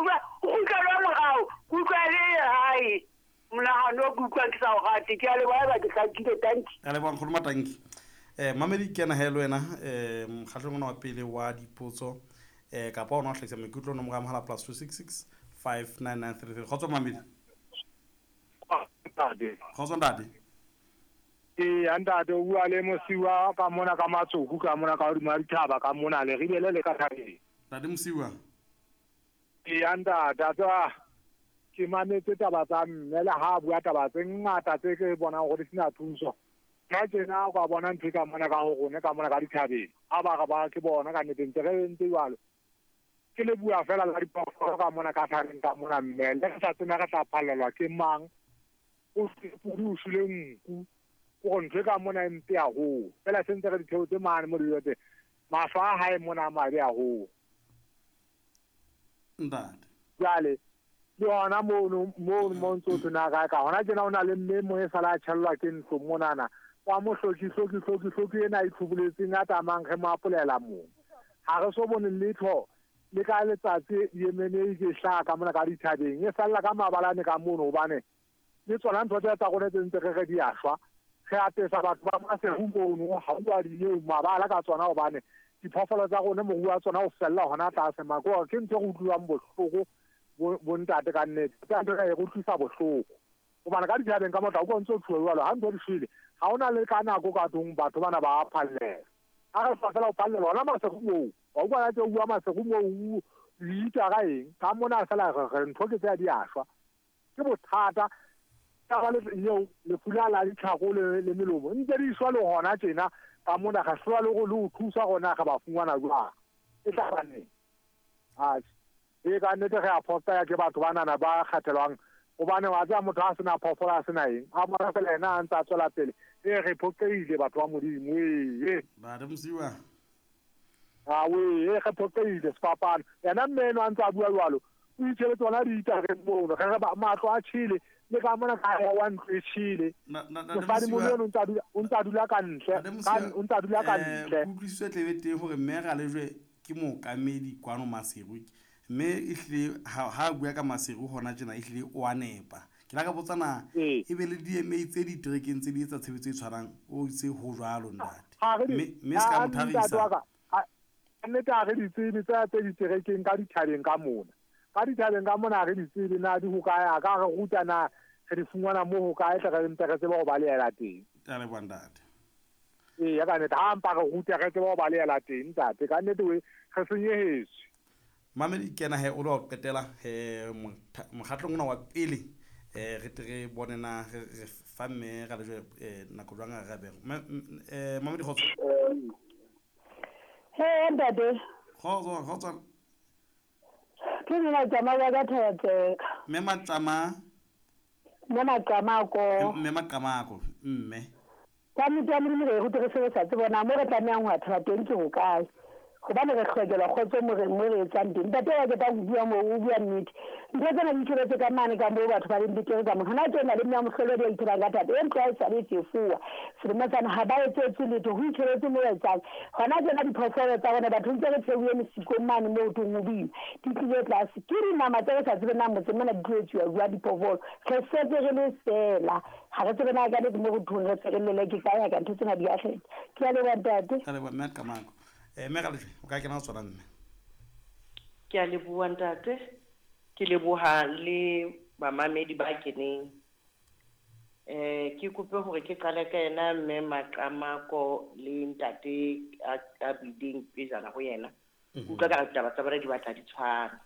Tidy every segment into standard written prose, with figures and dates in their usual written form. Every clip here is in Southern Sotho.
O kgutlelwe morao, ke utlwa le hae monagano o ke utlwang ke sa o rate. Ke a leboha eba ke hlakile, tanki. A leboha nkgono Matanki. Mamedi ke ena he le wena mokgahlong ona wa pele wa dipotso kapa ona o hlahisa maikutlo nomoro ya mohala +266 59933. Kgotso mamedi. Ntate. Kgotso ntate. Ee, ntate, o bua le Mosiwa ka mona ka Matsoku ka mona ka hodima dithaba ka mona le ribele le ka thabeng. Ntate Mosiwa. Ee, ntate, a tseba ke mametse taba tsa mme le ha bua taba tse ngata tse ke bonang gore di sena thuso. Nna tjena o ka bona ntho e ka mona ka ho rona ka mona ka dithabeng. A ba re ba ke bona ka nnete ntse re ntse jwalo. Ke le bua fela la diphoofolo ka mona ka thabeng ka mona mme le re sa tsena re tla phallelwa ke mang. O pudi o shwele nku. Ke gore ntho e ka mona e mpe haholo. Fela se ntse re di theotse mane mo dijo teng. Mahlo a hae mona a mabe haholo. Ntate. Jwale le hona mono mono mo ntso thwe na kae ka hona tjena o na le mme mo e sala a tjhellwa ke ntlo monana. Wa mo hloki hloki hloki hloki ena e tlhoboletseng a tsamayang re mo apolela moo. Ha re so bone letho le ka letsatsi yemene e ke hlaha ka mona ka dithabeng. E salla ka mabalane ka mono hobane le tsona ntho tse tsa rona tse ntse re re di a shwa. Re apesa batho ba Maseru mono ha o a di mabala ka tsona hobane diphoofolo tsa rona moruo wa tsona o fella hona tlase mako ke ntho e re utlwang bohloko bo ntate ka nnete. Ke ntho e re utlwisa bohloko. Hobane ka dithabeng ka motla o ntso thuwa jwalo ha ntho di shwele ha hona le ka nako ka tlung batho bana ba phallela. Ha re sa fela ho phallela hona Maseru moo. Wa utlwa tse bua Maseru moo o ka eng ka mona fela re ntho ke tse di a shwa. Ke bothata ka le eo lefu la la ditlhako le melomo ntse di shwa le hona tjena ka mona ga hlwa le go le o thusa gona ga ba fungwana jwang e tla ba neng. Atjhe e ka nnete re a phosta ya ke batho banana ba kgathelwang hobane wa tseba motho a sena phoofolo a sena eng a bona fela ena a ntse a tswela pele e re phoqehile batho ba Modimo ee. Ntate Mosiwa. A we e re phoqehile sefapano yena mme eno a ntse a bua jwalo o itjhebetse tsona diitareng mono re re matlo a tjhele le ka mona ka ya wa ntlo e tjhele. Mosadi mona o ntse a dula ka ntle, o ntse a dula ka ntle. Kutlwisiso e tlebe teng hore mme Ralejwe ke mookamedi kwano Maseru mme ehlile ha bua ka Maseru hona tjena ehlile o a nepa. Ke la ka botsa na ebe le DMA tse diterekeng tse di etsa tshebetso e tshwanang o itse ho jwalo ntate. Mme se ka mo thabisa. Nnete ha re di tsebe tse diterekeng ka dithabeng ka mona. Ka dithabeng ka mona re di tsebe na di ho kae a ka re ruta na re di fumana mo ho kae tle re mpe re tsebe ho balehela teng. Ke a leboha ntate. Ee ka nnete ha mpa re ruta re tsebe ho balehela teng ntate ka nnete we re senyehetswe. Mamedi kena he o lo qetela he mokgatlong ona wa pele re tle re bone na re fa mme Ralejwe nako jwang a re bego. Mamedi kgotso. He ntate. Kgotso kgotso. Ke nna Maqama wa ka Thetseka. Mme Maqama. Mme Maqamako. Mme Maqamako mme. Ka motho wa Modimo re rute re sebetsa tse bona mo re tlamehang ho thaba teng ke hokae. Hobane re hlokela kgotso mo re etsang teng. Ntate wa ke tla bua mo o bua nnete. Ntho tsena di tshebetse ka mane ka moo batho ba leng betere ka mo. Hona tjena le mme mohlolo di ithebang ka thata. E ntlo e sa le tsefuwa. Selemo tsana ha ba etsetse letho ho itshebetse mo etsang. Hona tjena diphoofolo tsa bona batho ntse re theohe mesikong mane moo tong ho boima. Di tlile tlase. Ke dinama tse re sa tsebe na motse mona di tlo etsuwa jwang diphoofolo. Re setse re le fela. Ha re tsebe na ka nnete mo re thong re se re lele ke kae ka ntho tsena di a kgetha. Ke a leboha ntate. Ke a leboha mme Maqamako. Mme Ralejwe o ka kena ho tsona mme. Ke a leboha ntate. Ke leboha le bamamedi ba keneng. Ke kope hore ke qale ka yena mme Maqamako le ntate a buileng pejana ho yena. Utlwa ka ditaba tsa bona di batla di tshwana.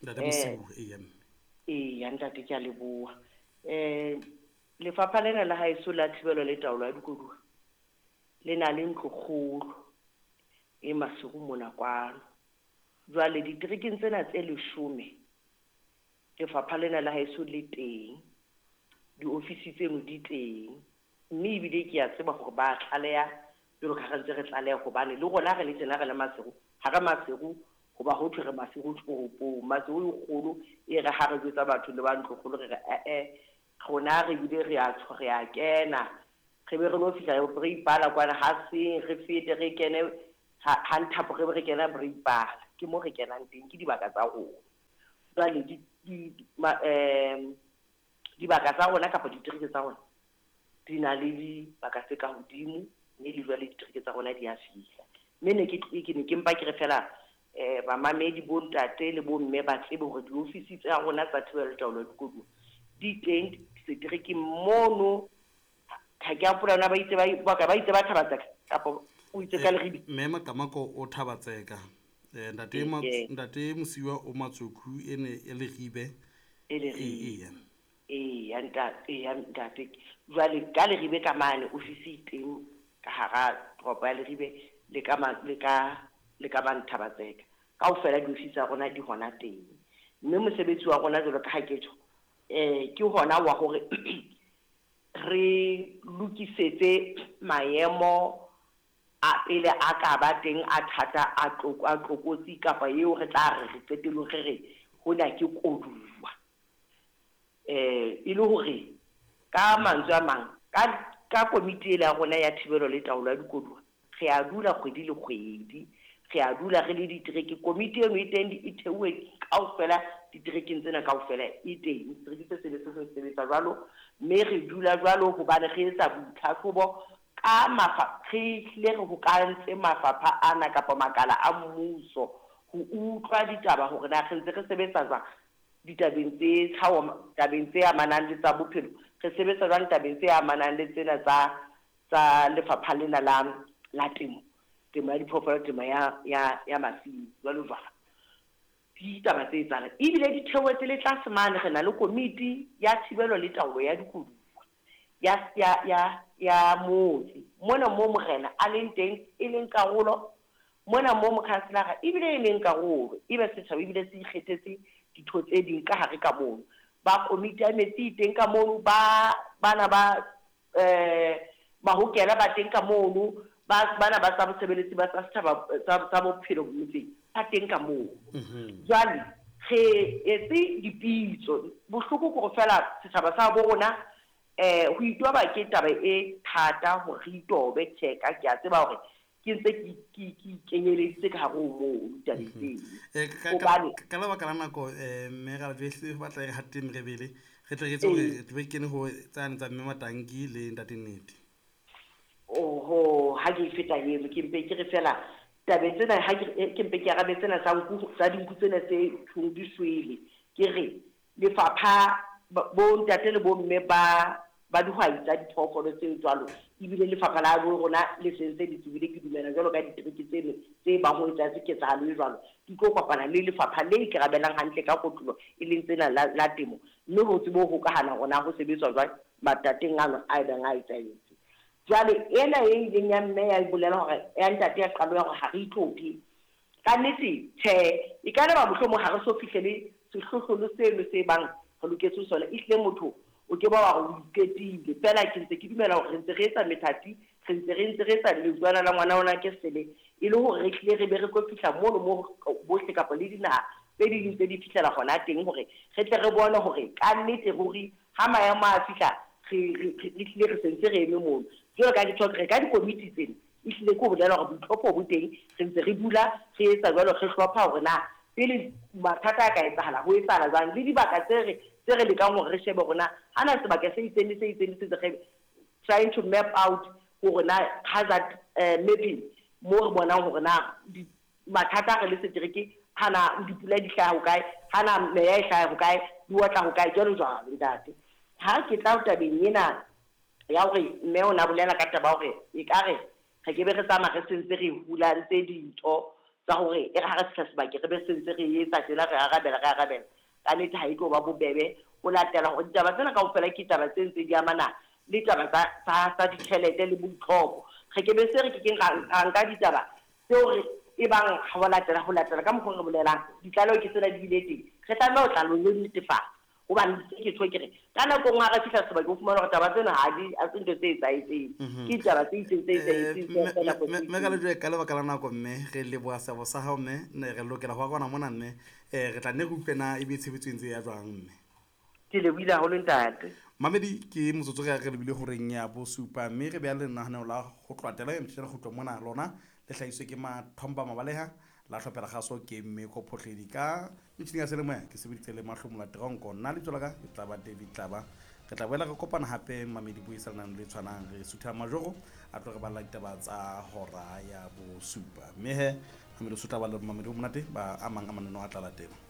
Ntate Mosiu ee mme. Ee ntate ke a leboha. Lefapha lena la haeso la thibelo le taolo ya dikoduwa le na le ntlokgolo e Maseru mona kwano. Jwale diterekeng tsena tse 10 lefapha lena la haeso le teng, diofisi tseno di teng, mme ebile ke a tseba hore ba tlaleha jwalo ka ha re ntse re tlaleha hobane le rona re le tjena re le Maseru, ha re Maseru hoba ho thwe re Maseru toropong, Maseru e kgolo e re ha re jwetsa batho le ba ntlokgolo re re rona re bile re a tsho re a kena re be re lo fihla re ipala kwana ha seng re fete re kene ha nthapo re be re kena re ipala ke mo re kenang teng ke dibaka tsa rona. Jwale dibaka tsa rona kapa ditereke tsa rona di na le dibaka tse ka hodimo, mme le jwale ditereke tsa rona di a fihla. Mme ne ke ne ke mpa ke re fela bamamedi, bontate le bomme, ba tsebe hore diofisi tsa rona tsa thibelo taolo ya dikoduwa di teng seterekeng mono. Ha ke a hopola na ba itse ba itse ba Thabatseka kapa o itse ka Leribe. Mme Makamako o Thabatseka. Ntate ntate Mosiwa o Matsokhu, e ne e Leribe. E Leribe. Eya ntate, eya ntate. Jwale ka Leribe ka mane ofisi e teng ka hara toropo ya Leribe le ka le ka le ka mane Thabatseka. Kaofela diofisi tsa rona di hona teng. Mme mosebetsi wa rona, jwalo ka ha ke tjho, ke hona wa hore re lokisetse maemo a pele a ka ba teng a thata, a tlokotsi kapa eo re tla re re qetellong re re hona ke koduwa. E le hore ka mantswe a mang, ka komiti ele ya rona ya thibelo le taolo ya dikoduwa, re a dula kgwedi le kgwedi, re a dula re le ditereke. Komiti eno e teng, e theuwe kaofela diterekeng tsena kaofela, e teng. Setereke se seng le se seng se sebetsa jwalo, mme re dula jwalo hobane re etsa boitlhahlobo ka re hlile re hokahantse mafapha ana kapa makala a mmuso ho utlwa ditaba hore na re ntse re sebetsa jwang ditabeng tse tlhaho, tabeng tse amanang le tsa bophelo, re sebetsa jwang tabeng tse amanang le tsena tsa lefapha lena la temo, temo ya diphoofolo, temo ya masimo, jwalo jwalo. Ditaba tse etsahalang ebile di theohetse le tlase mane. Re na le komiti ya thibelo le taolo ya dikoduwa ya motse mona mo morena a leng teng, e leng karolo mona mo mokhanselara ebile e leng karolo, ebe setjhaba ebile se ikgethetse ditho tse ding ka hare ka mono. Ba komiti ya metsi e teng ka mono, ba bana ba mahokela ba teng ka mono, ba bana ba tsa bosebeletsi ba tsa setjhaba tsa bophelo motseng ba teng ka mono. Jwale re etse dipitso. Bohloko ke hore fela setjhaba sa bo rona, ho itoba ke taba e thata hore re itobe. Tjhe, ka ke a tseba hore ke ntse ke ikenyeleditse ka hare ho moo ditabeng tseno. Hobane ka lebaka la nako, mme Ralejwe, batla re hate merebele, re tle re etse hore re kene ho tsane tsa mme Matanki le ntate Nnete. Oho, ha ke feta eno, ke mpe ke re fela tabeng tsena, ha ke mpe ke arabe tsena tsa nku, tsa dinku tsena tse thong di shwele. Ke re lefapha, bo ntate le bo mme ba dihwai tsa diphoofolo tse jwalo, ebile lefapha la bo rona le sentse le tsebile, ke dumela jwalo ka ditereke tseno tse bang ho etsahetse ketsahalo e jwalo, di tlo kopana le lefapha le ikarabelang hantle ka kotulo, e leng tsena la temo, mme ho tsebe ho hokahana hore na ho sebetswa jwang matateng ano a ebang a etsahetse. Jwale ena e ileng ya mme ya bolela hore ya ntate ya qalo ya hore ha re itlhophe, ka nnete tjhe, e ka ba mohlomong ha re so fihlele sehlohlolo seno se bang re loketse sona. Ehlile motho o ke ba wa re o iketile fela. Ke ntse ke dumela hore re ntse re etsa methati, re ntse re etsa leutlwana la ngwana ona ke sele, e le hore re hlile re be re tlo fihla mono mo bohle kapa le dinaha tse ding tse di fihlela hona teng, hore re tle re bone hore ka nnete ruri ha maemo a fihla re hlile re sentse re eme mono. Jwalo ka ke tjho, re ka dikomiti tsena, ehlile ke ho bolela hore boitlhopho bo teng. Re ntse re dula re etsa jwalo, re hlopha hore na pele mathata a ka etsahala ho etsahala jwang, le dibaka tse re lekang hore re shebe hore na hana sebaka se itseng le se itseng le se itseng, re trying to map out hore na hazard mapping, mo re bonang hore na mathata a re le setereke, hana dipula di hlaha hokae, hana meya e hlaha hokae, di otla hokae, jwalo jwalo. Ntate, ha ke tla tabeng ena ya hore mme o na bolela ka taba hore ekare re ke be re tsamaya re sentse re hulantse dintho tsa hore e re ha re fihla sebakeng re be sentse re etsa tjena, re arabela, ka nnete ha e tlo ba bobebe ho latela hore ditaba tsena kaofela ke taba tse ntse di amana le taba tsa ditjhelete le boitlhopho. Re ke be se re kekeng ra nka ditaba tseo re e bang ho latela ka mokgwa re bolelang ditlaleho ke tsena di bile teng, re tlameha ho tla lo netefatsa, hobane se ke tjho ke re ka nako nngwe ha re fihla sebakeng o fumana hore taba tsena ha di a se ntho tse etsahetseng, ke ditaba tse itseng tse etsahetseng ka nako tse Mme Ralejwe, ka lebaka la nako, mme re leboha seabo sa hao, mme ne re lokela ho arona mona, mme re tla nne re utlwe na ebe tshebetso e ntse ya jwang, mme. Ke lebohile haholo, ntate. Mamedi, ke motsotso re lebile horeng ya bosupa, mme re beha lenaneo la ho tlwatela e motjhela kgutlo mona lona le hlahiswe ke Mathomba Mabaleha. La hlophela kgaso ke Mmeko Phohledi ka metjhining ya selemoya ke sebeditse le Mahlomola Teronko. Nna lebitso la ka ke tla ba David Tlaba. Re tla boela re kopana hape mamedi buisanang le tshwanang re sutha majoro a tlo re balla ditaba tsa hora ya bosupa. Mme he mamedi o tla ba le mamedi o monate ba amang a mananeo a tla latela.